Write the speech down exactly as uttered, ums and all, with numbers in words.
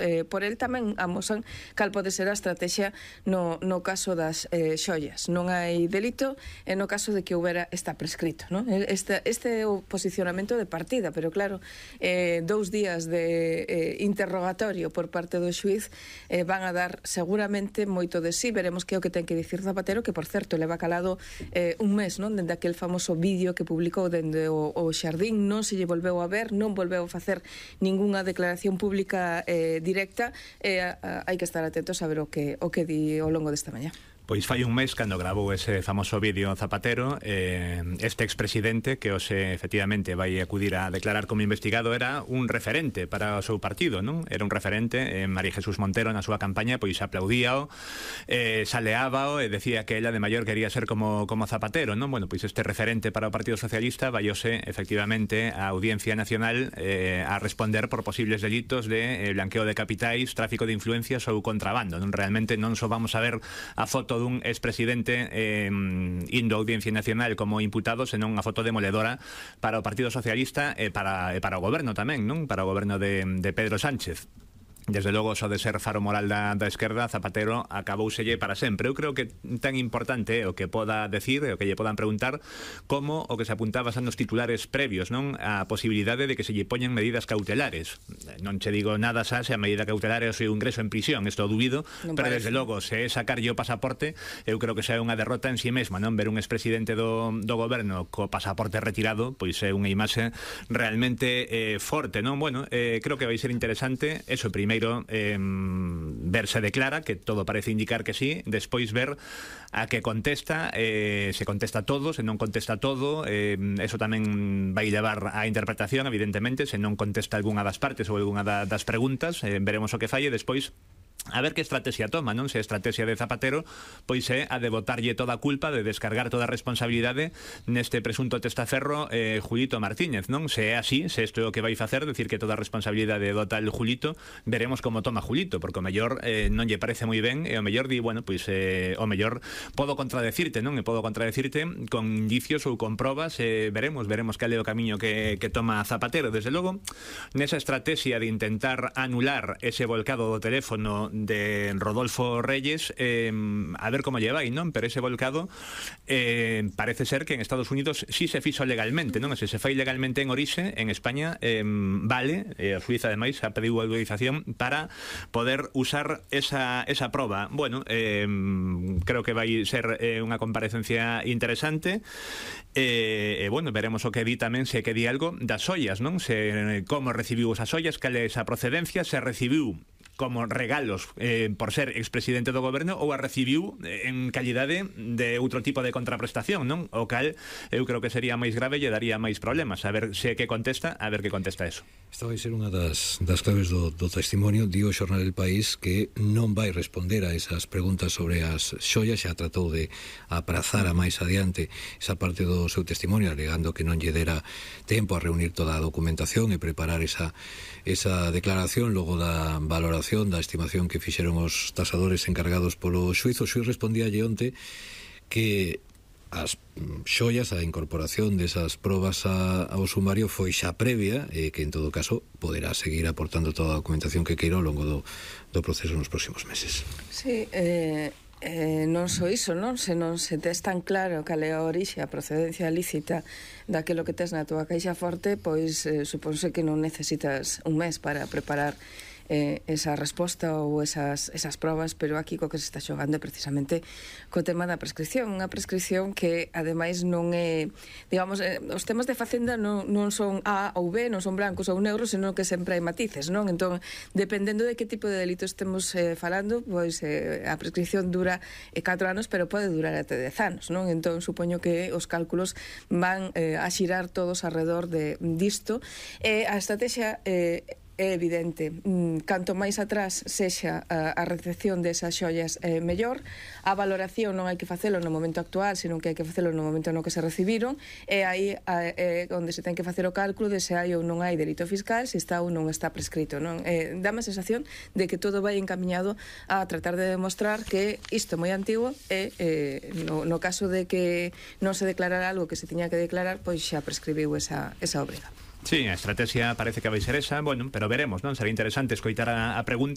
eh, por el tamén amosan cal pode ser a estrategia no, no caso das eh, xoias. Non hai delito e no caso de que houbera está prescrito, non? Este, este é o posicionamento de partida, pero claro, eh, dous días de eh, interrogatorio por parte do xuiz eh, van a dar seguramente moito de sí. Veremos que é o que ten que dicir Zapatero, que por certo leva calado eh, un mes, non? Dende aquel famoso vídeo que publicou dende o, o Xardín, non se lle volveu a ver, non volveu a facer ningunha declaración pública eh, directa, e eh, hai que estar atentos a ver o que, o que di ao longo desta mañá. Pois fai un mes cando grabou ese famoso vídeo Zapatero, eh, este expresidente que hoxe efectivamente vai acudir a declarar como investigado era un referente para o seu partido, non? Era un referente, eh, María Jesús Montero na súa campaña pois aplaudíao, eh, saleábao e decía que ela de maior quería ser como, como Zapatero, non? Bueno, pois este referente para o Partido Socialista vaiose efectivamente a Audiencia Nacional eh, a responder por posibles delitos de eh, blanqueo de capitais, tráfico de influencias ou contrabando, non? Realmente non só vamos a ver a foto dun expresidente eh, indo a Audiencia Nacional como imputado, senón unha foto demoledora para o Partido Socialista e para, e para o goberno tamén, non? Para o goberno de, de Pedro Sánchez. Desde logo, só de ser faro moral da, da esquerda, Zapatero acabouselle para sempre. Eu creo que tan importante o que poda decir, o que lle podan preguntar, como o que se apuntaba xa nos titulares previos, non? A posibilidade de que se lle poñan medidas cautelares. Non che digo nada xa se a medida cautelar é o seu ingreso en prisión, isto dubido, non pero parece. Desde logo, se é sacarlle o pasaporte, eu creo que xa é unha derrota en si mesma, non? Ver un expresidente do, do goberno co pasaporte retirado, pois é unha imaxe realmente eh, forte, non? Bueno, eh, creo que vai ser interesante, eso primeiro, Eh, ver se declara, que todo parece indicar que sí, despois ver a que contesta, eh, se contesta todo, se non contesta todo, eh, eso tamén vai levar a interpretación, evidentemente, se non contesta algunha das partes ou algunha da, das preguntas, eh, veremos o que falle despois. A ver que estrategia toma, non? Se a estrategia de Zapatero pois é a de botarlle toda a culpa, de descargar toda a responsabilidade neste presunto testaferro eh, Julito Martínez, non? Se é así, se isto é o que vai facer, decir que toda a responsabilidade do tal Julito, veremos como toma Julito, porque o mellor eh, non lle parece moi ben, e o mellor di, bueno, pois eh, o mellor podo contradecirte, non? E podo contradecirte con indicios ou con probas, eh, veremos, veremos cal é o camiño que, que toma Zapatero. Desde logo, nesa estrategia de intentar anular ese volcado do teléfono de Rodolfo Reyes, eh, a ver como lle vai, non? Pero ese volcado eh, parece ser que en Estados Unidos sí se fixo legalmente, non? Se se fai legalmente en orixe, en España eh, vale, e a Suiza ademais ha pedido autorización para poder usar esa, esa proba. Bueno, eh, creo que vai ser eh, unha comparecencia interesante, e eh, eh, bueno, veremos o que di tamén, se que di algo das ollas, non? Se como recibiu esas ollas, cal é esa procedencia, se recibiu como regalos eh, por ser expresidente do goberno ou a recibiu eh, en calidade de outro tipo de contraprestación, non? O cal eu creo que sería máis grave e lle daría máis problemas. A ver se que contesta, a ver que contesta eso. Esta vai ser unha das, das claves do, do testimonio. Dio o xornal El País que non vai responder a esas preguntas sobre as xoias, xa tratou de aprazar a máis adiante esa parte do seu testimonio, alegando que non lle dera tempo a reunir toda a documentación e preparar esa, esa declaración logo da valoración, da estimación que fixeron os tasadores encargados polo xuiz. O xuiz respondíalle onte que as xoias, a incorporación desas probas a, ao sumario foi xa previa e que en todo caso poderá seguir aportando toda a documentación que queira ao longo do, do proceso nos próximos meses. Sí, eh... Eh, non só iso, non? Se non se tes tan claro cal é a orixe, a procedencia lícita daquilo que tes na túa caixa forte, pois eh, supónse que non necesitas un mes para preparar eh, esa resposta ou esas, esas probas, pero aquí co que se está xogando é precisamente co tema da prescripción, unha prescripción que ademais non é, digamos, eh, os temas de Facenda non, non son A ou B, non son blancos ou negros, senón que sempre hai matices, non? Entón, dependendo de que tipo de delito estemos eh, falando, pois eh, a prescripción dura eh, catro anos, pero pode durar até dez anos, non? Entón, supoño que os cálculos van eh, a xirar todos alrededor de disto. E eh, a estrategia eh, é evidente, canto máis atrás sexa a, a recepción desas xoias eh, mellor. A valoración non hai que facelo no momento actual, senón que hai que facelo no momento no que se recibiron, e aí é onde se ten que facer o cálculo de se hai ou non hai delito fiscal, se está ou non está prescrito, non? Eh, dame a sensación de que todo vai encaminhado a tratar de demostrar que isto é moi antigo e eh, no, no caso de que non se declarara algo que se tiña que declarar, pois xa prescribiu esa, esa obriga. Sí, a estrategia parece que vai ser esa, bueno, pero veremos, non? Será interesante escoitar a, a pregunta.